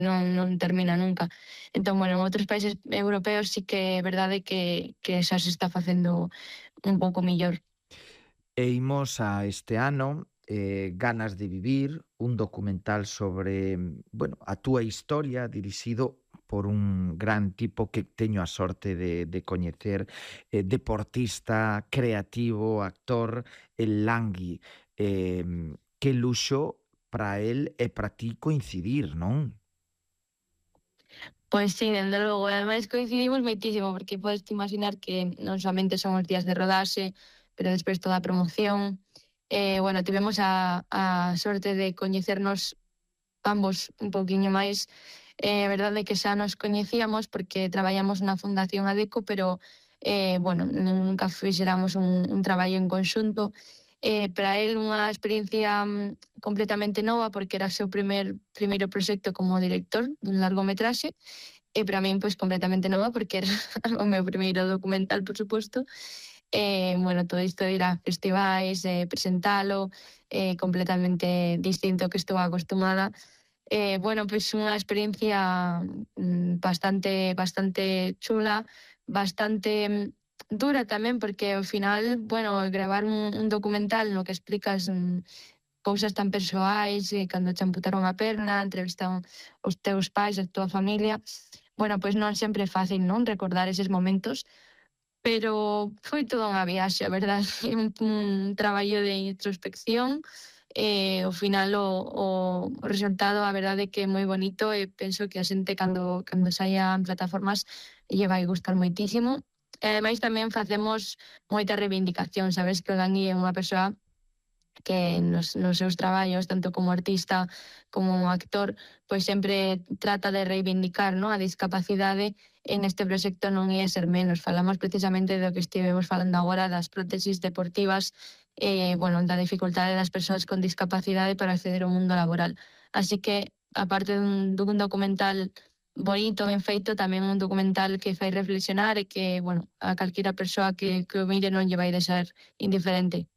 non termina nunca. Entón, bueno, en outros países europeos sí que é verdade que xa se está facendo un pouco millor. E imos a este ano, Ganas de vivir, un documental sobre, bueno, a túa historia dirixido por un gran tipo que teño a sorte de coñecer, deportista, creativo, actor, el Langui. Que luxo para el e para ti coincidir, non? Pois sí, dende logo, e ademais coincidimos moitísimo, porque podes imaginar que non soamente son os días de rodaxe, pero despois toda a promoción. Bueno, tivemos a sorte de coñecernos ambos un pouquiño máis. É verdade que xa nos coñecíamos porque traballamos na Fundación Adeco, pero, bueno, nunca fixeramos un traballo en conxunto. Para el unha experiencia completamente nova, porque era o seu primeiro proxecto como director dun largometraxe, e para min, pois, completamente nova, porque era o meu primeiro documental, por suposto. Bueno, todo isto de ir a festivais, presentalo, completamente distinto ao que estou acostumada. Bueno, pois unha experiencia bastante chula, bastante dura tamén, porque ao final, bueno, gravar un documental no que explicas cousas tan persoais, cando che amputaron a perna, entrevistan os teus pais, a túa familia. Bueno, pois non sempre é fácil, non, recordar eses momentos, pero foi toda unha viaxe, a verdade, un traballo de introspección. Ao final o resultado, a verdade é que é moi bonito, e penso que a xente cando saia en plataformas lle vai gustar moitísimo. E ademais tamén facemos moita reivindicación, sabes que o Dani é unha persoa que nos seus traballos, tanto como artista como actor, pois sempre trata de reivindicar, no, a discapacidade. En este proxecto non ia ser menos. Falamos precisamente do que estivemos falando agora, das prótesis deportivas, bueno, da dificultade das persoas con discapacidade para acceder ao mundo laboral. Así que, aparte dun documental bonito, ben feito, tamén un documental que fai reflexionar e que, bueno, a calquera persoa que o mire non lle vai deixar indiferente.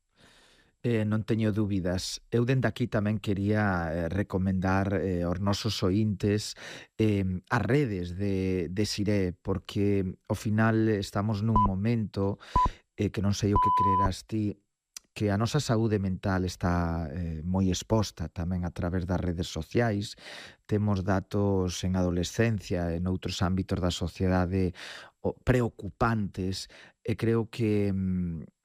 Non teño dúbidas. Eu dende aquí tamén quería recomendar aos nosos oíntes as redes de Siré, porque ao final estamos nun momento que non sei o que creerás ti, que a nosa saúde mental está moi exposta tamén a través das redes sociais. Temos datos en adolescencia e noutros ámbitos da sociedade preocupantes, e creo que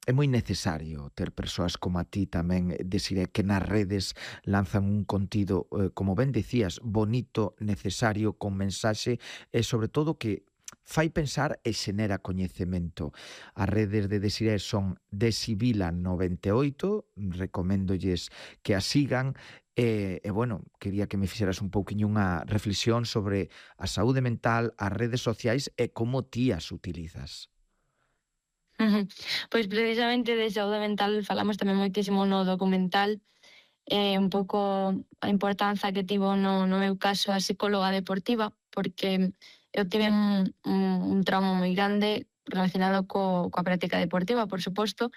é moi necesario ter persoas como a ti tamén, Desiré, que nas redes lanzan un contido, como ben dicías, bonito, necesario, con mensaxe, e sobre todo que fai pensar e xenera coñecemento. As redes de Desiré son Desibila98, recoméndolles que a sigan, e bueno, quería que me fixeras un pouquiño unha reflexión sobre a saúde mental, as redes sociais e como ti as utilizas. Ujú. Pois precisamente de saúde mental falamos tamén moitísimo no documental, un pouco a importanza que tivo no meu caso a psicóloga deportiva, porque eu tive un trauma moi grande relacionado coa práctica deportiva, por suposto.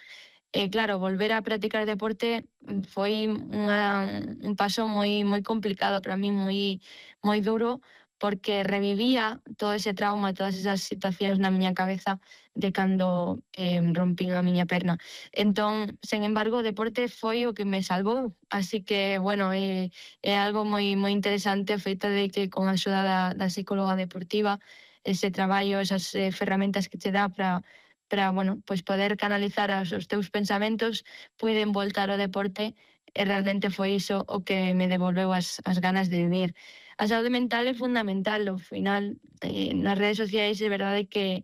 E claro, volver a practicar deporte foi un paso moi complicado para min, moi duro, porque revivía todo ese trauma, todas esas situacións na miña cabeza de cando rompín a miña perna. Entón, sen embargo, o deporte foi o que me salvou, así que, bueno, é algo moi interesante o feito de que con a axuda da psicóloga deportiva, ese traballo, esas ferramentas que che dá para, bueno, pois poder canalizar os teus pensamentos, puiden voltar ao deporte, e realmente foi iso o que me devolveu as ganas de vivir. A saúde mental é fundamental, ao final, nas redes sociais é verdade que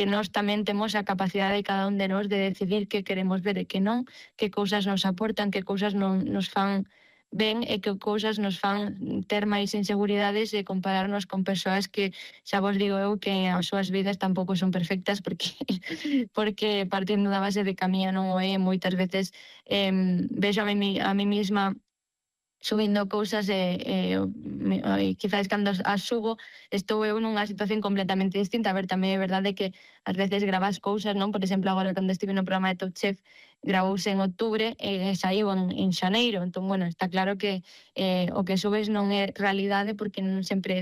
nós tamén temos a capacidade, cada un de nós, de decidir que queremos ver e que non, que cousas nos aportan, que cousas non nos fan ben, e que cousas nos fan ter máis inseguridades e compararnos con persoas que xa vos digo eu que as súas vidas tampouco son perfectas, porque porque partindo da base de que a miña non o é, moitas veces vexo a mí misma subindo cousas, e quizais cando as subo estou eu nunha situación completamente distinta. A ver, tamén é verdade que ás veces gravas cousas, non? Por exemplo, agora cando estive no programa de Top Chef gravouse en outubro e saiu en xaneiro. Entón, bueno, está claro que o que subes non é realidade, porque non sempre é